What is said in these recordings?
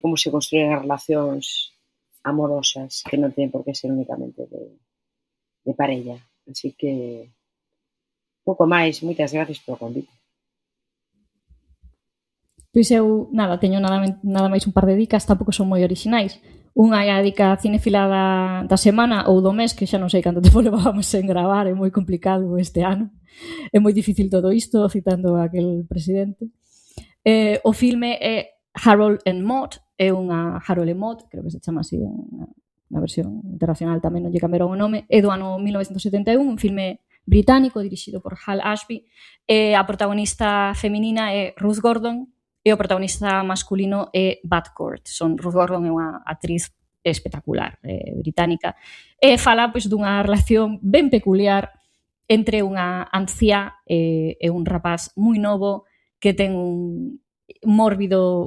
como se construyen as relacións amorosas, que non teñen por que ser únicamente de parella. Así que, pouco máis, moitas gracias polo convite. Pois eu, teño nada máis un par de dicas, tampouco son moi orixinais. Unha é a dica cinefila da semana ou do mes, que xa non sei canto tempo levábamos sen gravar, é moi complicado este ano. É moi difícil todo isto, citando a aquel presidente. O filme é Harold and Maude, é unha Harold and Maude, creo que se chama así na versión internacional, tamén non lle cambiaron o nome, é do ano 1971, un filme británico dirixido por Hal Ashby, e a protagonista feminina é Ruth Gordon e o protagonista masculino é Bud Cort. Ruth Gordon é unha actriz espectacular, británica, e fala pois dunha relación ben peculiar entre unha anciá e un rapaz moi novo que ten un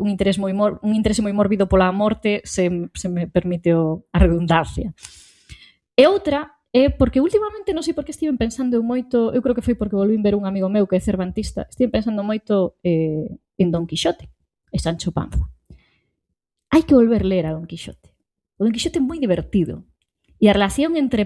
interese moi mórbido pola morte, se me permite a redundancia. E outra é porque últimamente non sei por que estiven pensando moito, eu creo que foi porque volvín ver un amigo meu que é cervantista, estiven pensando moito en Don Quixote e Sancho Panza. Hai que volver ler a Don Quixote. O Don Quixote é moi divertido. E a relación entre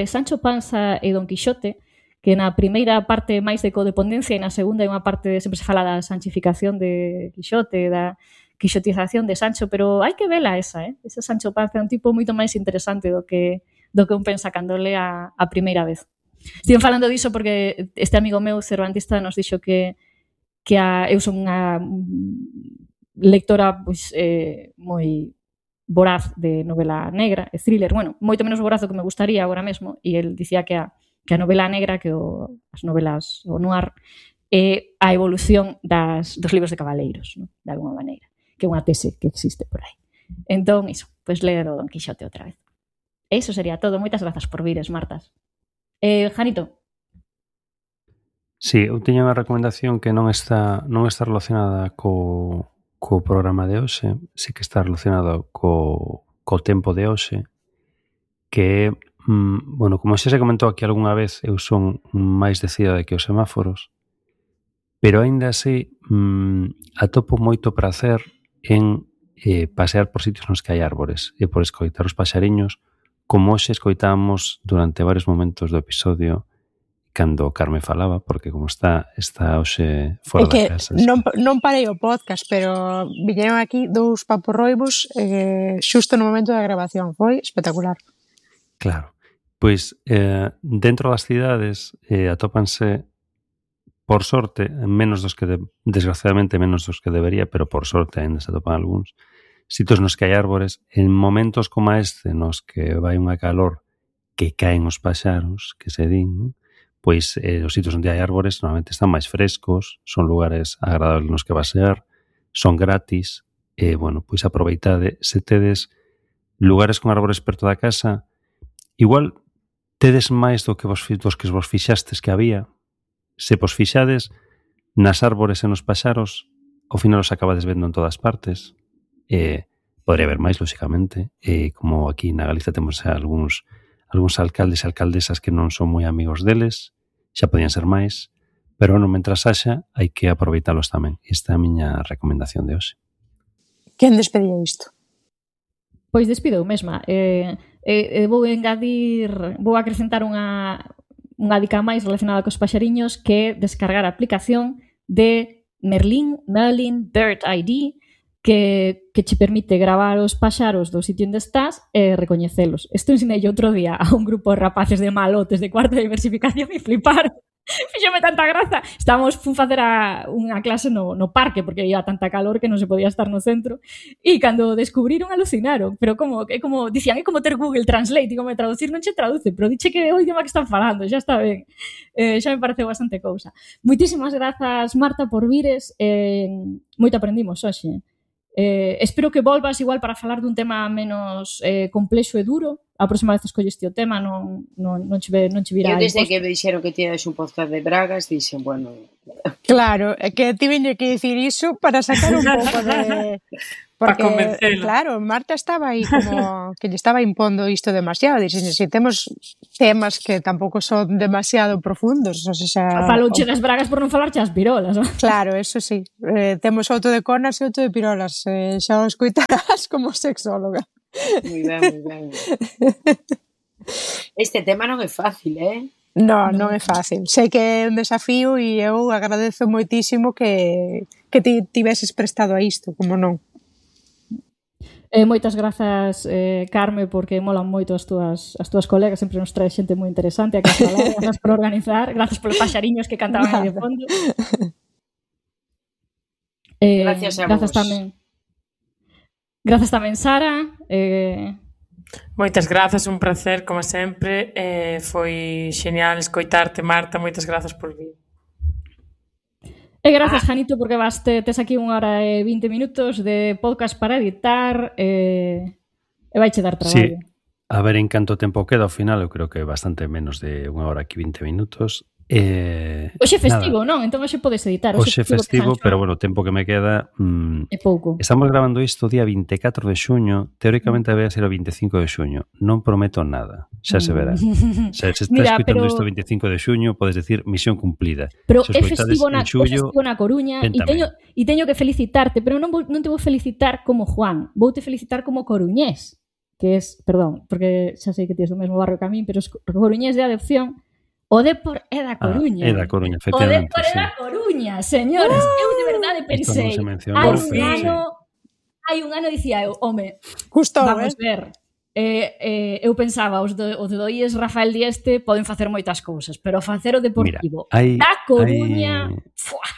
Sancho Panza e Don Quixote, que na primeira parte máis de codependencia e na segunda é unha parte sempre se fala da sanchificación de Quixote, da quixotización de Sancho, pero hai que vela esa, ese Sancho Panza é un tipo moito máis interesante do que un pensa cando lea a primeira vez. Estive falando diso porque este amigo meu cervantista nos dixo que eu son unha lectora pois, moi voraz de novela negra e thriller, bueno, moito menos voraz do que me gustaría agora mesmo, e el dicía que a novela negra, que as novelas, o noir, é a evolución dos libros de cabaleiros, ¿no? De alguma maneira, que é unha tese que existe por aí. Entón, iso, pois ler o Don Quixote outra vez. E iso sería todo. Moitas grazas por vires, Martas. Janito? Sí, eu teño unha recomendación que non está relacionada co programa de hoxe, sí que está relacionado co tempo de hoxe, que é, bueno, como xa se comentou aquí algunha vez, eu son máis de cidade que os semáforos, pero aínda así atopo moito prazer en pasear por sitios nos que hai árbores e por escoitar os paxariños, como hoxe escoitábamos durante varios momentos do episodio cando Carme falaba, porque como está hoxe fora da casa. Non parei o podcast, pero viñeron aquí dous paporroibos xusto no momento da grabación. Foi espectacular. Claro. Pois, dentro das cidades atópanse, por sorte, desgraciadamente menos dos que debería, pero por sorte ainda se atopan algúns, sitios nos que hai árbores, en momentos como este, nos que vai unha calor que caen os paxaros, que se din, pois os sitios onde hai árbores normalmente están máis frescos, son lugares agradables nos que pasear, son gratis, e, bueno, pois aproveitade, se tedes lugares con árbores perto da casa, igual tedes máis dos que vos fixastes que había. Se vos fixades nas árbores e nos paxaros, ao final os acabades vendo en todas partes. Podría haber máis, lóxicamente. Como aquí na Galiza temos algúns alcaldes e alcaldesas que non son moi amigos deles, xa podían ser máis, pero non, mentras haxa, hai que aproveitalos tamén. Esta é a miña recomendación de hoxe. Quen despedía isto? Pois despido eu mesma. Vou acrescentar unha dica máis relacionada cos paxariños, que é descargar a aplicación de Merlin Bird ID, que che permite gravar os paxaros do sitio onde estás e recoñecelos. Isto ensinei outro día a un grupo de rapaces de malotes de cuarta de diversificación e flipar. Fíxome tanta graza. Fun facer unha clase no parque, porque había tanta calor que non se podía estar no centro, e cando descubriron alucinaron, pero dicían, é como ter Google Translate, e como traducir non che traduce, pero diche que é o idioma que están falando, xa está ben. Xa me pareceu bastante cousa. Moitísimas grazas, Marta, por vires, moito aprendimos hoxe. Espero que volvas igual para falar dun tema menos complexo e duro. A próxima vez escolleste o tema, non che virá. Eu desde que me dixeron que tiñas un podcast de Bragas, dixen, bueno... Claro, é que ti veño que dicir iso para sacar un pouco Porque, convencela. claro, Marta estaba aí como que lle estaba impondo isto demasiado. Dixen, se temos temas que tampouco son demasiado profundos. O sea, Falouche das bragas por non falarche as pirolas. Non? Claro, eso sí. Temos outro de cornas e outro de pirolas. Xa o escoitarás como sexóloga. Moi ben. Este tema non é fácil, Non é fácil. Sei que é un desafío e eu agradezo moitísimo que ti tiveses prestado a isto, como non. Moitas grazas, Carme, porque molan moito as túas colegas, sempre nos trae xente moi interesante a que falar, grazas por organizar, grazas polos paxariños que cantaban aí de fondo. Gracias a vos. Grazas tamén, Sara. Moitas grazas, un placer, como sempre. Foi genial escoitarte, Marta. Moitas grazas por vir. E grazas, Janito, porque tes aquí 1 hora e 20 minutos de podcast para editar e vaiche dar traballo. Sí, a ver en canto tempo queda ao final, eu creo que bastante menos de 1 hora e 20 minutos. Hoxe festivo, non? Entón hoxe podes editar. Hoxe festivo, pero bueno, o tempo que me queda... É pouco. Estamos grabando isto o día 24 de xuño, teóricamente vai a ser o 25 de xuño. Non prometo nada, xa se verá. Se estás escutando isto o 25 de xuño, podes decir misión cumplida. Pero se é festivo na Coruña e teño que felicitarte, pero non te vou felicitar como Juan, voute felicitar como coruñés, que es, perdón, porque xa sei que tienes do mesmo barrio que a min, pero es coruñés de adopción. O Depor é da Coruña. É da Coruña, efectivamente. O Depor é da Coruña, señores. Eu de verdade pensei, hai un ano dicía eu, home, vamos ver. Eu pensaba, os de Doíes Rafael Dieste poden facer moitas cousas, pero facer o Deportivo da Coruña...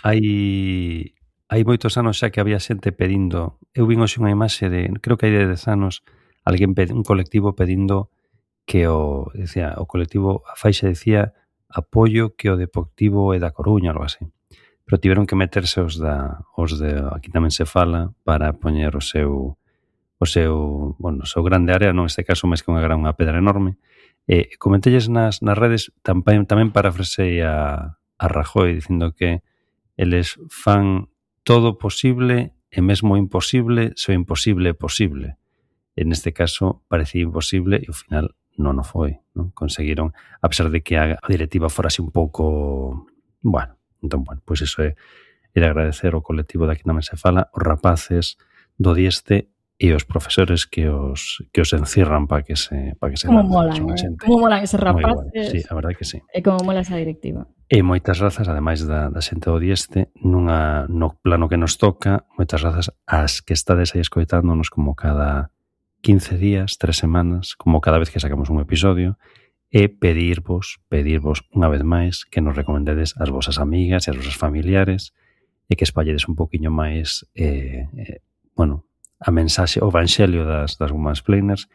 Hai moitos anos xa que había xente pedindo, eu vin hoxe unha imaxe de, creo que hai de 10 anos, un colectivo pedindo que o colectivo, a faixa decía apoio que o Deportivo é da Coruña, algo así. Pero tiveron que meterse os de aquí tamén se fala para poñer o seu grande área, non neste caso máis que unha pedra enorme. Comentelles nas redes, tamén parafrasei a Rajoy dicindo que eles fan todo posible e mesmo imposible se o imposible é posible. En este caso parecía imposible e ao final non o foi, non? Conseguiron, a pesar de que a directiva fora así un pouco... Bueno, pois iso é de agradecer ao colectivo de Aquí tamén se fala, os rapaces do Dieste e os profesores que os encierran para que se como molan, como molan eses rapaces. Sí, a verdade que sí. E como mola esa directiva. E moitas grazas, ademais da xente do Dieste, no plano que nos toca, moitas grazas ás que estades aí escoitándonos como cada 15 días, 3 semanas, como cada vez que sacamos un episodio, e pedirvos unha vez máis que nos recomendedes as vosas amigas e as vosas familiares e que espalledes un poquinho máis a mensaxe, o evanxelio das Womansplainers,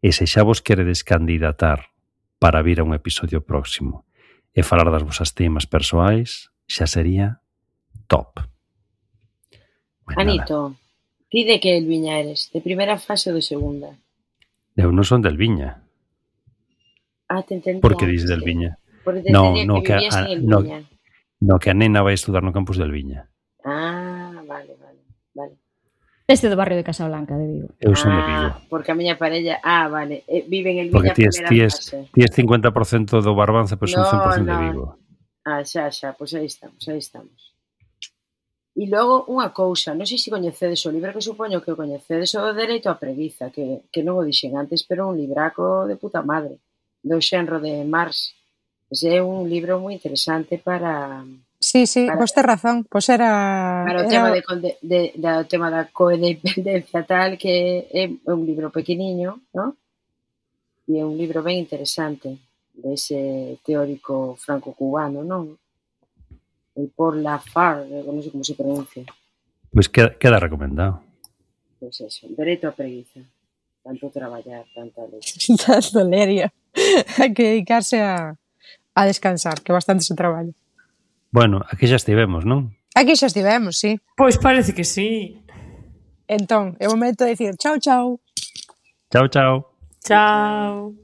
e se xa vos queredes candidatar para vir a un episodio próximo e falar das vosas temas persoais, xa sería top. Anito, ti de que Elviña eres? De primeira fase ou de segunda? Eu non son del Viña. Te entendía. Por que dis del Viña? Porque te entendía que vivías en el Viña. No, que a nena vai estudar no campus del Viña. Vale. Este do barrio de Casablanca, de Vigo. Eu son de Vigo. Porque a miña parella... vale. Vive en el Viña primeira fase. Ti es 50% do Barbanza, pero son 100% de Vigo. Xa, pois aí estamos. E logo unha cousa, non sei se coñecedes o libro, que supoño que o coñecedes, o Dereito á Preguiza, que non o dixen antes, pero un libraco de puta madre, do xenro de Marx. Ese é un libro moi interesante para... Sí, vos tes razón, pois era... Para o tema da codependencia tal, que é un libro pequeniño, non? E é un libro ben interesante, dese teórico franco-cubano, non? El por la FAR, non sei como se pronuncia. Pois queda recomendado. Pois eso, Dereito á Preguiza. Tanto traballar, tanta leche. Tanto leria. Hai que dedicarse a descansar, que bastante se traballa. Bueno, aquí xa estivemos, non? Aquí xa estivemos, sí. Pois parece que sí. Entón, é o momento de dicir chao. Chao. Chao.